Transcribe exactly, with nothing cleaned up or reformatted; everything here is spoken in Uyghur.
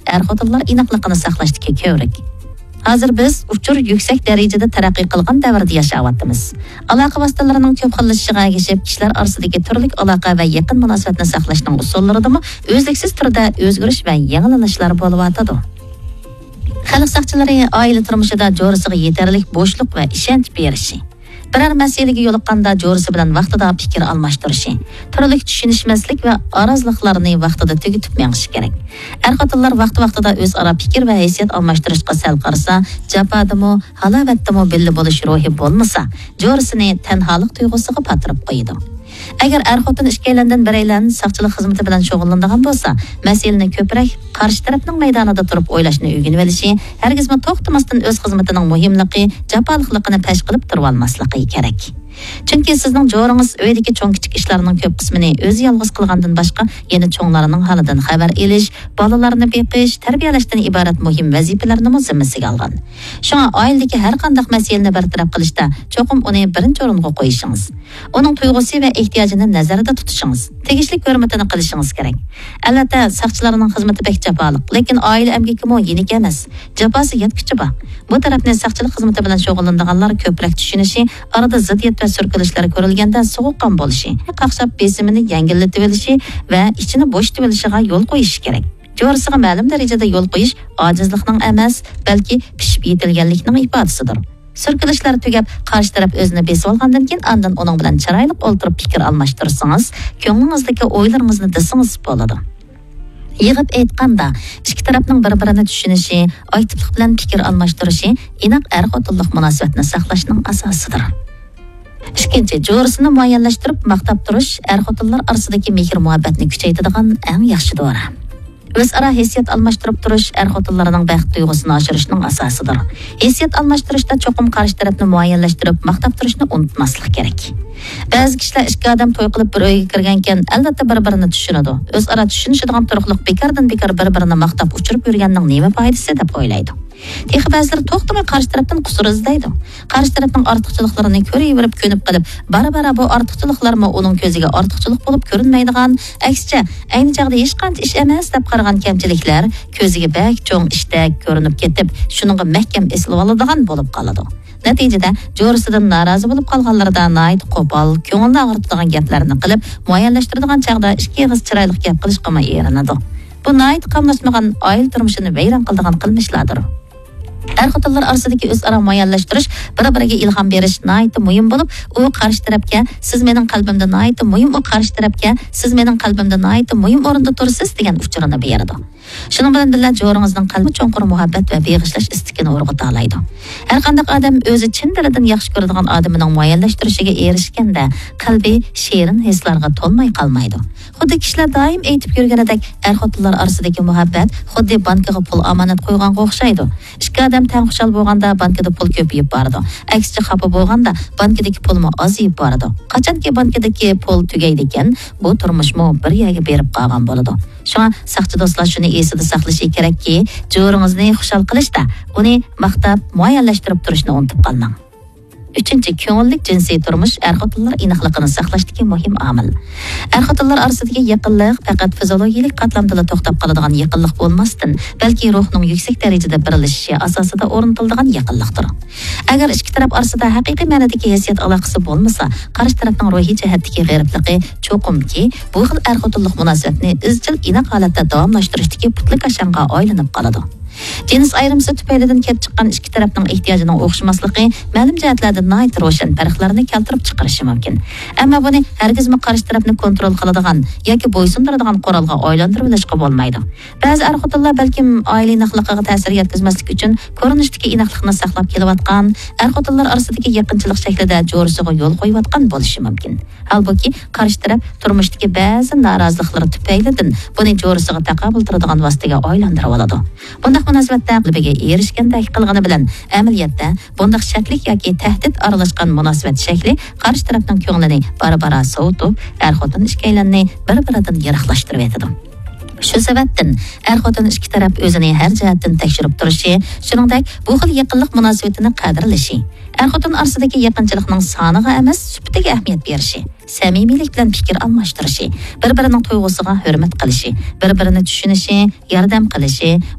ئەر-خوتۇنلار ئىناقلىقىنى ساقلاشتىكى كۆۋرۈك. ھازىر بىز ئۇچۇر يۈكسەك دەرىجىدە تەرەققىي قىلغان دەۋردە ياشاۋاتىمىز. ئالاقە ۋاسىتىلىرىنىڭ كۆپ خىللىشىشىغا ئەگىشىپ، كىشىلەر ئارىسىدىكى تۈرلۈك ئالاقە ۋە يېقىن مۇناسىۋەتنى ساقلاشنىڭ ئۇسۇللىرىدىمۇ ئۈزلۈكسىز تۈردە ئۆزگىرىش ۋە يېڭىلىنىشلار بولۇۋاتىدۇ. خەلق ساقچىلىرى ئائىلە تۇرمۇشىدا جورىسىغا يېتەرلىك بوشلۇق ۋە ئىشەنچ بېرىشى، بىرەر مەسىلىگە يولۇققاندا جورىسى بىلەن ۋاقتىدا پىكىر ئالماشتۇرۇشى، تۈرلۈك چۈشىنىشمەسلىك ۋە ئارازلىقلارنى ۋاقتىدا تۈگىتىپ مېڭىشى كېرەك. ئەر-خوتۇنلار ۋاقتى-ۋاقتىدا ئۆزئارا پىكىر ۋە ھېسسىيات ئالماشتۇرۇشقا سەل قارىسا، جاپادىمۇ، ھالاۋەتتىمۇ بىللە بولۇش روھى بولمىسا، جورىسىنى تەنھالىق تۇيغۇسىغا پاتۇرۇپ قويىدۇ. ئەگەر ئەر-خوتۇن ئىككىيلەندىن بىرەيلەن ساقچىلىق خىزمىتى بىلەن شۇغۇللىنىدىغان بولسا، مەسىلىنى كۆپرەك قارشى تەرەپنىڭ مەيدانىدا تۇرۇپ ئويلاشنى ئۆگىنىۋېلىشى، ھەرگىزمۇ توختىماستىن ئۆز خىزمىتىنىڭ مۇھىملىقى، جاپالىقلىقىنى پەش قىلىپ تۇرۇۋالماسلىقى كېرەك. چۈنكى سىزنىڭ جورىڭىز ئۆيدىكى چوڭ-كىچىك ئىشلارنىڭ كۆپ قىسمىنى ئۆزى يالغۇز قىلغاندىن باشقا، يەنە چوڭلارنىڭ ھالىدىن خەۋەر ئېلىش، بالىلارنى بېقىش، تەربىيەلەشتىن ئىبارەت مۇھىم ۋەزىپىلەرنىمۇ زىممىسىگە ئالغان. شۇڭا ئائىلىدىكى ھەر قانداق مەسىلىنى بىر تەرەپ قىلىشتا چوقۇم ئۇنى بىرىنچى ئورۇنغا قويۇشىڭىز، ئۇنىڭ تۇيغۇسى ۋە ئېھتىياجىنى نەزەردە تۇتۇشىڭىز، تېگىشلىك ھۆرمىتىنى قىلىشىڭىز كېرەك. ئەلۋەتتە، ساقچىلارنىڭ خىزمىتى بەك جاپالىق، لېكىن ئائىلە ئەمگىكىمۇ يېنىك ئەمەس. جاپاسى يەتكۈچە بار. بۇ تەرەپنى ساقچىلىق خىزمىتى بىلەن شۇغۇللىنىدىغانلار كۆپرەك چۈشىنىشى، ئارىدا زىددىيەت ۋە سۈركىلىشلەر كۆرۈلگەندە سوغۇققان بولۇشى، قاقشاپ بېسىمىنى يەڭگىللىتىۋېلىشى ۋە ئىچىنى بوشىتىۋېلىشىغا يول قويۇشى كېرەك. جورىسىغا مەلۇم دەرىجىدە يول قويۇش ئاجىزلىقنىڭ ئەمەس، بەلكى پىشىپ يېتىلگەنلىكنىڭ ئىپادىسىدۇر. سۈركىلىشلار تۈگەپ، قارشى تەرەپ ئۆزىنى بېسىۋالغاندىن كېيىن، ئاندىن ئۇنىڭ بىلەن چىرايلىق ئولتۇرۇپ پىكىر ئالماشتۇرسىڭىز، كۆڭلىڭىزدىكى ئويلىرىڭىزنى دېسىڭىز بولىدۇ. يىغىپ ئېيتقاندا، ئىككى تەرەپنىڭ بىر-بىرىنى چۈشىنىشى، ئاكتىپلىق بىلەن پىكىر ئالماشتۇرۇشى ئىناق ئەر-خوتۇنلۇق مۇناسىۋەتنى ساقلاشنىڭ ئاساسىدۇر. ئىككىنچى، جورىسىنى مۇئەييەنلەشتۈرۈپ ماختاپ تۇرۇش ئەر-خوتۇنلار ئارىسىدىكى مېھىر-مۇھەببەتنى كۈچەيتىدىغان ئەڭ ياخشى دورا. ئۆزئارا ھېسسىيات ئالماشتۇرۇپ تۇرۇش ئەر-خوتۇنلارنىڭ بەخت تۇيغۇسىنى ئاشۇرۇشنىڭ ئاساسىدۇر. ھېسسىيات ئالماشتۇرۇشتا چوقۇم قارشى تەرەپنى مۇئەييەنلەشتۈرۈپ ماختاپ تۇرۇشنى ئۇنتۇماسلىق كېرەك. بەزى كىشىلەر ئىككى ئادەم توي قىلىپ بىر ئۆيگە كىرگەنكەن، ئەلۋەتتە بىر-بىرىنى چۈشىنىدۇ. ئۆزئارا چۈشىنىشىدىغان تۇرۇقلۇق بىكاردىن بىكار بىر-بىرىنى ماختاپ ئۇچۇرۇپ يۈرگەننىڭ نېمە پايدىسى دەپ ئويلايدۇ. تېخى بەزىلەر توختىماي قارشى تەرەپتىن قۇسۇر ئىزدەيدۇ. قارشى تەرەپنىڭ ئارتۇقچىلىقلىرىنى كۆرۈۋېرىپ كۆنۈپ قېلىپ، بارا-بارا بۇ ئارتۇقچىلىقلارمۇ ئۇنىڭ كۆزىگە ئارتۇقچىلىق بولۇپ كۆرۈنمەيدىغان، ئەكسىچە، ئەينى چاغدا ھېچقانچە ئىش ئەمەس دەپ قارىغان كەمچىلىكلەر كۆزىگە بەك چوڭ ئىشتەك كۆرۈنۈپ كېتىپ، شۇنىڭغا مەھكەم ئېسىلىۋالىدىغان بولۇپ قالىدۇ. نەتىجىدە، جورىسىدىن نارازى بولۇپ قالغانلىرىدا ناھايىتى قوپال، كۆڭۈلنى ئاغرىتىدىغان گەپلەرنى قىلىپ، مۇئەييەنلەشتۈرىدىغان چاغدا ئىككى ئېغىز چىرايلىق گەپ قىلىشقىمۇ ئېرىنىدۇ. بۇ ناھايىتى قاملاشمىغان ئائىلە تۇرمۇشىنى ۋەيران قىلىدىغان قىلمىشلاردۇر. ئەر-خوتۇنلار ئارىسىدىكى ئۆزئارا مۇئەييەنلەشتۈرۈش، بىر-بىرىگە ئىلھام بېرىش ناھايىتى مۇھىم بولۇپ، ئۇ قارشى تەرەپكە، «سىز مېنىڭ قەلبىمدە ناھايىتى مۇھىم، ئۇ قارشى تەرەپكە، سىز مېنىڭ قەلبىمدە ناھايىتى مۇھىم ئورۇندا تۇرىسىز» دېگەن ئۇچۇرىنى بېرىدۇ. شۇنىڭ بىلەن بىللە، جورىڭىزنىڭ قەلبى چوڭقۇر مۇھەببەت ۋە بېغىشلاش ئىستىكىنى ئۇرغۇتالايدۇ. ھەر قانداق ئادەم ئۆزى چىن دىلىدىن ياخشى كۆرىدىغان ئادىمىنىڭ مۇئەييەنلەشتۈرۈشىگە ئېرىشكەندە، قەلبى شېرىن ھېسلارغا تولماي قالمايدۇ. خۇددى كىشىلەر دائىم ئېيتىپ يۈرگىنىدەك، ئەر-خوتۇنلار ئارىسىدىكى مۇھەببەت خۇددى بانكىغا پۇل ئامانەت قويغانغا ئوخشايدۇ. ئىككى ئادەم تەڭ خۇشال بولغاندا، بانكىدا پۇل كۆپىيىپ بارىدۇ. ئەكسىچە، خاپا بولغاندا، بانكىدىكى پۇلمۇ ئازىيىپ بارىدۇ. قاچانكى بانكىدىكى پۇل تۈگەيدىكەن، بۇ تۇرمۇشمۇ بىر يەرگە بېرىپ قالغان بولىدۇ. شۇڭا ساقچى دوستلار شۇنى ئېسىدە ساقلىشى كېرەككى، جورىڭىزنى خۇشال قىلىشتا ئۇنى ماختاپ، مۇئەييەنلەشتۈرۈپ تۇرۇشنى ئۇنتۇپ قالماڭ. ئۈچىنچى، كۆڭۈللۈك جىنسىي تۇرمۇش ئەر-خوتۇنلار ئىناقلىقىنى ساقلاشتىكى مۇھىم ئامىل. ئەر-خوتۇنلار ئارىسىدىكى يېقىنلىق پەقەت فىزىولوگىيىلىك قاتلامدىلا توختاپ قالىدىغان يېقىنلىق بولماستىن، بەلكى روھنىڭ يۈكسەك دەرىجىدە بىرلىشىشى ئاساسىدا ئورنىتىلىدىغان يېقىنلىقتۇر. ئەگەر ئىككى تەرەپ ئارىسىدا ھەقىقىي مەنىدىكى ھېسسىيات ئالاقىسى بولمىسا، قارشى تەرەپنىڭ روھىي جەھەتتىكى غېرىبلىقى چوقۇمكى بۇ خىل ئەر-خوتۇنلۇق مۇناسىۋەتنى ئىزچىل ئىناق ھالەتتە داۋاملاشتۇرۇشتىكى پۇتلىكاشاڭغا ئايلىنىپ قالىدۇ. جىنس ئايرىمىسى تۈپەيلىدىن كېلىپ چىققان ئىككى تەرەپنىڭ ئېھتىياجىنىڭ ئوخشىماسلىقى مەلۇم جەھەتلەردە ناھايىتى روشەن پەرقلەرنى كەلتۈرۈپ چىقىرىشى مۇمكىن. ئەمما بۇنى ھەرگىزمۇ قارشى تەرەپنى كونترول قىلىدىغان ياكى بويسۇندۇرىدىغان قورالغا ئايلاندۇرۇۋېلىشقا بولمايدۇ. بەزى ئەر-خوتۇنلار بەلكىم ئائىلە ئىناقلىقىغا تەسىر يەتكۈزمەسلىك ئۈچۈن كۆرۈنۈشتىكى ئىناقلىقنى ساقلاپ كېلىۋاتقان، ئەر-خوتۇنلار ئارىسىدىكى يېقىنچىلىق شەكلىدە جورىسىغا يول قويۇۋاتقان بولۇشى مۇمكىن. ھالبۇكى، قارشى تەرەپ تۇرمۇشتىكى بەزى نارازىلىقلىرى تۈپەيلىدىن بۇنى جورىسىغا تاقابىل تۇرىدىغان ۋاسىتىگە ئايلاندۇرۇۋالىدۇ. بۇنداق مۇناسىۋەتتە غەلىبىگە ئېرىشكەندەك قىلغىنى بىلەن، ئەمەلىيەتتە بۇنداق شەكلىك ياكى تەھدىت ئارىلاشقان مۇناسىۋەت شەكلى قارشى تەرەپنىڭ كۆڭلىنى بارا-بارا سوۋۇتۇپ، ئەر-خوتۇن ئىككىيلەننى بىر-بىرىدىن يىراقلاشتۇرۇۋېتىدۇ. شۇ سەۋەبتىن ئەر-خوتۇن ئىككى تەرەپ ئۆزىنى ھەر جەھەتتىن تەكشۈرۈپ تۇرۇشى، شۇنىڭدەك بۇ خىل يېقىنلىق مۇناسىۋىتىنى قەدىرلىشى، ئەر-خوتۇن ئارىسىدىكى يېقىنچىلىقنىڭ سانىغا ئەمەس، سۈپىتىگە ئەھمىيەت بېرىشى، سەمىمىيلىك بىلەن پىكىر ئالماشتۇرۇشى، بىر-بىرىنىڭ تۇيغۇسىغا ھۆرمەت قىلىشى، بىر-بىرىنى چۈشىنىشى، ياردەم قىلىشى،